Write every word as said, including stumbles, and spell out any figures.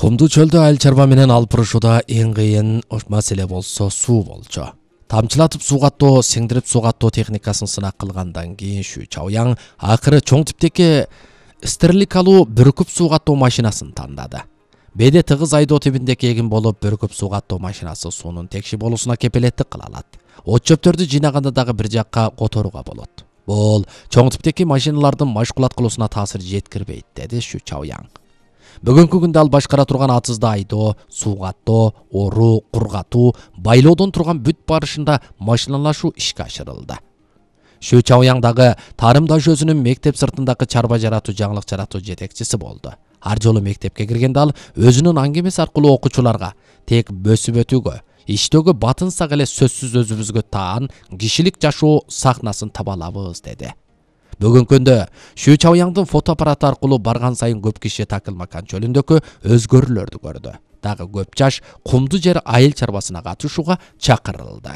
Кумдуу чөлдө айыл чарба менен алып урушууда эң кыйын маселе болсо суу болчу. Тамчылатып суугаттоо, сиңдирип суугаттоо техникасын сынак кылгандан кийин Шу Чаояң акыры чоң типтеги стерликалуу бүркүп суугаттоо машинасын тандады. Беде тыгыз айдоо тибиндеги эгин болуп, бүркүп суугаттоо машинасы суунун текши болуусуна кепелеттик кыла алат. От чөптөрдү жыйнаганда дагы бир жакка которууга болот. Бул чоң типтеги машиналардын машкулат кылуусуна таасир жеткирбейт, деди Шу Чаояң. Бүгүнкү күндө ал башкара турган атызды айдоо, суугаттоо, оруу, кургатуу, байлоодон турган бүт барышында машиналашуу ишке ашырылды. Шу Чаояң дагы тарымдаш өзүнүн мектеп сыртындагы чарба жаратуу, жаңылык жаратуу жетекчиси болду. Ар жолу мектепке киргенде ал өзүнүн аңгемеси аркылуу окуучуларга тек бөсүп өтүүгө, иштөөгө батынсак эле сөзсүз өзүбүзгө таан кишилик жашоо сахнасын таба алабыз, деди. Бүгүнкү күндө Шу Чаояңдын фотоаппараты аркылуу барган сайын көп киши Такылмакан чөлүндөгү өзгөрүүлөрдү көрдү. Дагы көп жаш кумдуу жер айыл чарбасына катышууга чакырылды.